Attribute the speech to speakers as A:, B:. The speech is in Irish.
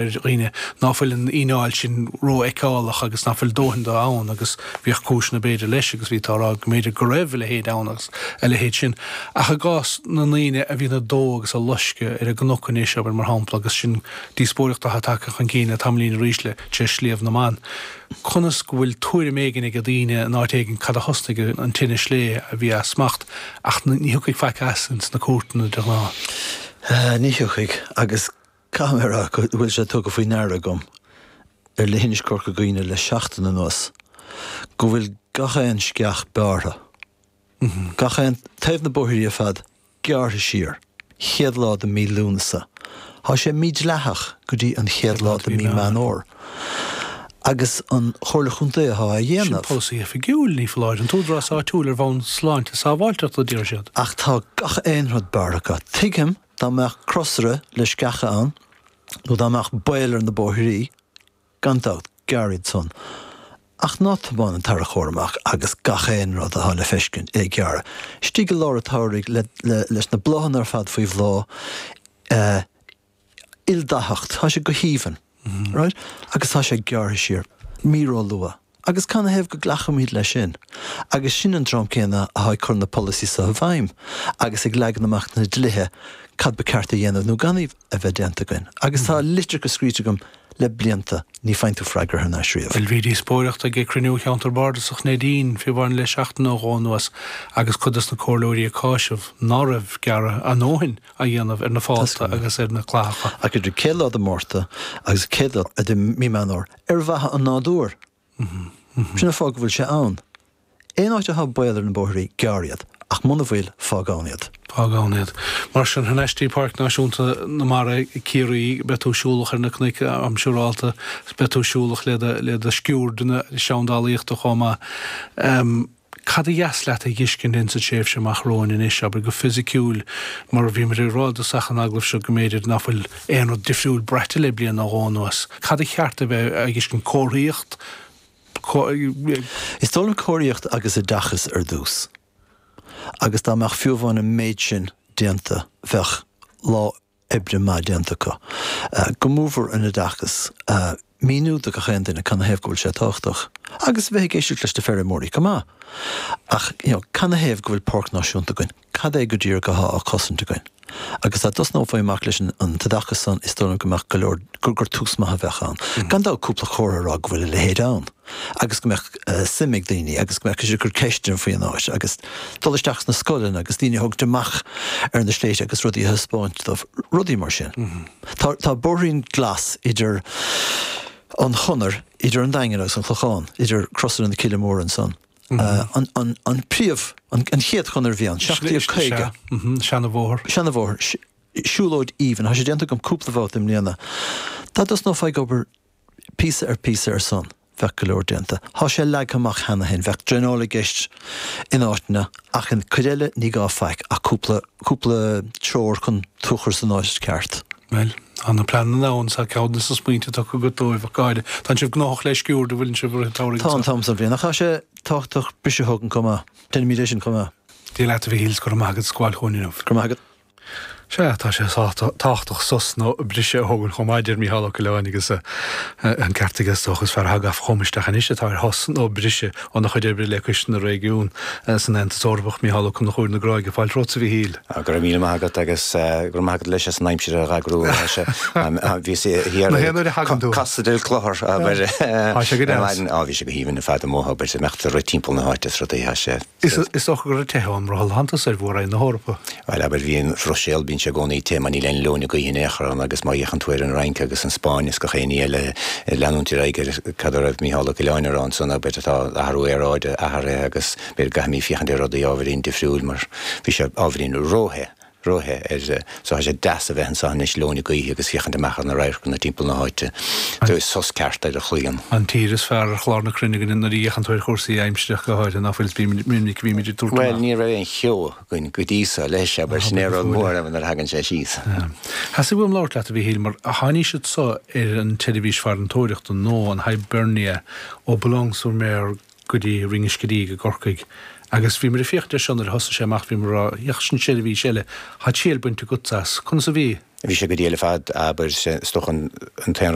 A: Ar dhaoine ná fuil an fhíneáil sin rófheiceálach agus ná fuil dóthain de ann agus bhíodh cúiseanna b'fhéidir leis agus bhí tú á rá go mb'fhéidir go raibh a leithéid ann agus a leithéid sin. Ach i gcás na ndaoine a bhíonn ag dó agus ag loisceadh ar an gcnoc anois, abair mar shampla, agus sin díospóireacht atá tagtha chun cinn le tamaillín arís le tar éis Shliabh na mBan, conas go bhfuil tuairim éigin ag daoine in áit éigin cad a thosnaigh an tine slé a bhí as smacht ach ní thiocfaidh faic as ins na cúirteanna de ghnáth.
B: Ní thiocfaidh agus Caithfidh mé a rá go bhfuil sé tugtha faoi ndeara agam ar leithinis Corca Dhuibhne le seachtain anuas go bhfuil gach aon sceach bearrtha, gach aon taobh na bóithrí ar fad gearrtha siar, chéad lá de mí Lúnasa. Tá sé mídhleathach go dtí an chéad lá de mí Meán Fhómhair. Agus an Chomhairle Chontae atá á
A: dhéanamh. Sin polasaí oifigiúil, ní foláir. An t-údarás áitiúil ar bhonn sláinte sábháilteachta, a deir siad.
B: Ach tá gach aon rud bearrtha acu. Tuigim Dá mbeadh crosaire le sceacha ann, nó dá mbeadh baol ar na bóithrí, gan dabht, gearr iad san. Ach ná tiomáin an tarracóir amach agus gach aon rud atá le feiscint é gearradh. Istigh i lár an tsamhraidh le, le, leis na bláthanna ar fad faoi bhláth, eh, ildathacht, tá sé go haoibhinn, right? Agus tá sé gearrtha siar, mí ró-luath. Agus canathaobh go nglacfaimid leis sin? Agus sin an dream céanna atá ag cur na polasaí seo i bhfeidhm agus ag leagan amach na dlíthe cad ba ceart a dhéanamh nó gan a bheith déanta againn. Agus tá litreacha scríte agam le blianta, ní faigheann tú freagra thar n-ais riamh.
A: Bhuel, bhí díospóireacht ag cruinniú Cheantar Bardasach Neidín fiú amháin le seachtain nó dhó anuas agus cuid dos na comhairleoirí ag cáiseamh ná raibh gearradh a ndóthain á dhéanamh ar na fálta agus ar na clathacha.
B: Ach idir chéad lá de Mhárta agus chéad lá de mí Meán Fhómhair, ar mhaithe an nádúir. Sin an fáth go bhfuil sé ann. Aon áit atá baol ar na bóithrí, gearr iad, ach muna bhfuil, fág ann iad.
A: Fág ann iad. Mar sin, thar n-ais dtí Páirc Náisiúnta na Mara, Ciarraí, beidh tú siúlach ar na cnoic, am siúrálta, beidh tú siúlach le do, le do sciuirdeanna seandálaíochta chomh maith. Cad a dheas leat a dh'fheiscint ins an tréimhse amach romhainn anois, abair, go fisiciúil, mar bhí muid ag rá i dtosach an agallaimh seo go mb'fhéidir ná fuil aon rud difriúil braite le bliain nó dhó anuas. Cad a cheart a bheith á dh'fheiscint? Comharthaíocht?
B: Is dóigh liom comharthaíocht agus oideachas ar dtús. Agus dá mbeadh fiú amháin an méid sin déanta, bheadh lá oibre maith déanta acu. Go mórmhór an oideachas. Míniú do gach aon duine canathaobh go bhfuil sé tábhachtach. Agus a bheith ag éisteacht leis na feirmeoirí chomh maith. Ach, you know, canathaobh go bhfuil páirc náisiúnta againn? Cad é go díreach atá á cosaint againn? Agus dá dtosnófaí amach leis an t-oideachas san, is dóigh liom go mbeadh go leor, gur, gur tús maith a bheadh ann. Gan dabht cúpla comhartha a rá go bhfuil a leithéid ann. Agus go mbeadh suim ag daoine agus go mbeadh siad ag cur ceisteanna faoi an áit agus dul isteach sna scoileanna agus daoine a thógaint amach ar na sléibhte agus rudaí a thaispeáint dóibh, rudaí mar sin. Tá, tá bóithrín glas idir an chonair idir an Daingean agus an Clochán, idir Crosaire na Cille Móire ansan. An, an, an príomh, an, an chéad chonair a bhí ann, 1750.
A: Seanabhóthar.
B: Seanabhóthar. Siúlóid aoibhinn. Tá sé déanta agam cúpla babhta i mbliana. Dá dtosnófá ag obair píosa ar phíosa ar son, bheadh go leor déanta. Tá sé leagtha amach cheana féin, bheadh draenáil i gceist in áiteanna ach in cuid eile ní gá faic ach cúpla, cúpla treoir chun tú a chur san áit ceart.
A: Bhuel, tá na pleananna ann, tá ceann de na smaointe tugtha agat dóibh ach go háirithe. Tánn sibh gnóthach le sciúird, an bhfuileann sibh i rith an tsamhraidh
B: Tá an t-am san bhliain, ach tá sé tábhachtach briseadh a thógaint chomh maith. Déanaimid é sin chomh maith.
A: Dia leat a Mhichíl, 's go raibh maith agat as gabháil chugainn inniu.
B: Go raibh maith agat.
A: Sea, tá sé tábhachtach sos nó briseadh a thógaint chomh maith, a deir Mícheál Ó Coileáin, agus an ceart aige is dócha. Is fear atá gafa chugam isteach anois atá ar shos nó briseadh óna chuid oibre le Coiste na Réigiún san Aontas Eorpach, Mícheál Ó Conchúir na Gráige. Fáilte romhat, a Mhichíl.
C: Go raibh míle maith agat agus go raibh maith agat leis as an aimsir a dh'eagrú. Bhíos thiar
A: Na haon uair a thagann tú.
C: Costa del Clochar, abair.
A: Tá sé go deas.
C: Á, bhí sé go haoibhinn ar fad amuigh, abair, imeacht ag rith timpeall na háite is rudaí, tá sé.
A: Is dócha go raibh te ann mar shulthantas ar Mhór-Roinn na hEorpa.
C: Bhuel, abair, bhí an Bhruiséil, bíonn sé i gcónaí te mar níl aon leoithne gaoithe in aon chor ann agus má fhéachann tú ar an Fhrainc agus an Spáinn is gach aon ní eile, ag leanúint ar aghaidh ar cad a raibh Mícheál Ó Coileáin a rá ansan, abair, tá athrú aeráide athraithe agus b'fhéidir go gcaithfimid féachaint ar rudaí ábhairín difriúil mar bhí sé ábhairín róthe. róthe ar so tá sé deas a bheith anso anois leoithne gaoithe agus féachaint amach ar na radharcanna timpeall na háite. So sos ceart ar an chloigeann.
A: An tír is fearr ar chlár na cruinne againn nuair a fhéachann tú ar chúrsaí aimsire ach go háirithe, ná fuil? Is minic a bhímid ag tabhairt
C: Bhuel, ní raibh aon cheo againn go dtí so leis, abair, sin é an rud mór nuair a thagann sé síos.
A: Theastaigh uaim labhairt leat, a Mhichíl, mar tháinig siad so ar an tseirbhís farantóireachta nó an Hibernia ó Boulogne-sur-Mer go dtí Rinn Uisce Díg i gCorcaigh agus bhíomar ag féachaint air seo nuair a thosaigh sé amach, bhíomar ag rá, féach, sin seirbhís eile, tá triail bainte agatsa as, conas a bhí?
C: Bhí sé go diail ar fad, abair, is dócha an t-aon rud.